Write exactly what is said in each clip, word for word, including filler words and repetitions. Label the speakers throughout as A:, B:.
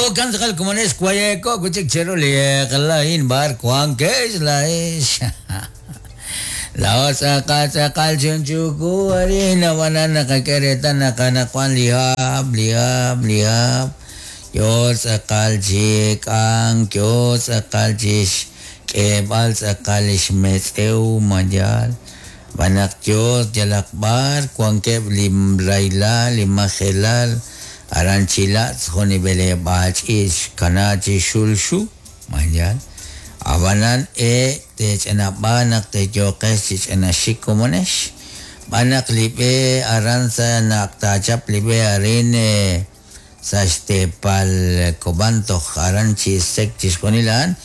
A: Okan tz'aqal komonex wayeko kuchik cheru li qlain bar wankex laex. La tz'aqal tz'aqal chunchuku arina banana qak'eretana qanaqwan li hab li hab li hab. Yo tz'aqal chik'an yo tz'aqal chix k'eb'al tz'aqal ixmetz'ew mayal. Banaq yo yalaq bar wankeb' li raylal li majelal aran chilatz jun b'eleb'aal ch'iich' kana chi xulxu mayal. Abanan e tech'enab'a naq teyoqex chich'enaxik komonex. Banaq li b'e aran sa naq tachap li b'e arin sa xtepal Koban toj aran chisek chixjunilan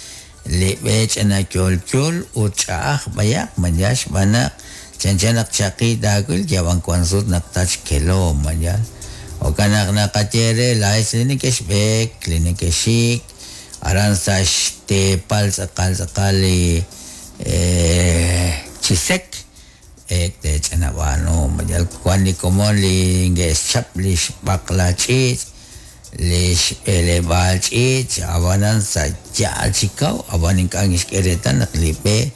A: li b'e ch'ena yol yol ut ch'a'aj bayaq mayax banaq chanchanaq chaqi taawil yawan kwansut naq tach kelo mayal. Okanaq naqatyere laex li nekexb'eek li nekexik aran sa xtepal tz'aqal tz'aqal li chisek ek tech'enab'ano mayal wan li komon li nge'xchap li xb'aqla ch'iich' li xb'eleb'aal ch'iich' abanan sa ya'al chikaw aban ink'a' xk'eretan naq li b'e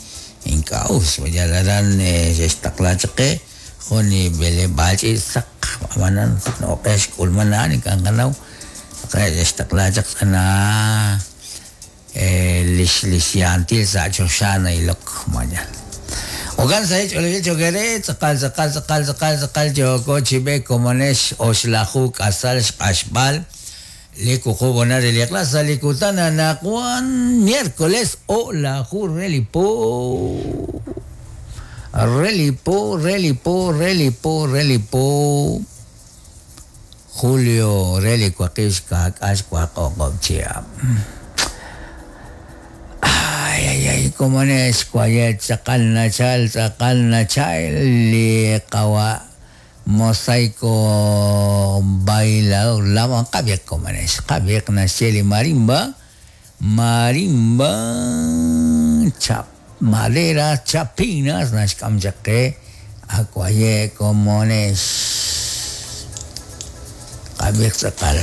A: ink'a' us mayal aran xe'xtaqla chaqe jun li b'eleb'aal ch'iich' saq abanan noqex k'ulmanaan ink'a' qanaw xe'xtaqla chaq tz'ana lix lix yantil sa choxana ilok mayal. Okan sa ch'olojil chokere tz'aqal tz'aqal tz'aqal tz'aqal tz'aqal yoko chib'e komonex oxlaju k'asal xq'axb'al li kuqub'ona re li klasa li kutana naqwan miércoles o laju relipo relipo relipo relipo relipo julio reli waqib' xka'k'aal xwaqoqob' chihab'. Ay ay ay komonex wayet tz'aqal nachal tz'aqal nachal li qawa mosaico bailador lawan qab'iq komonex qab'iq naxye li marimba marimba chap madera chapinas naxk'am chaq qe akwaye komonex qab'iq tz'aqal.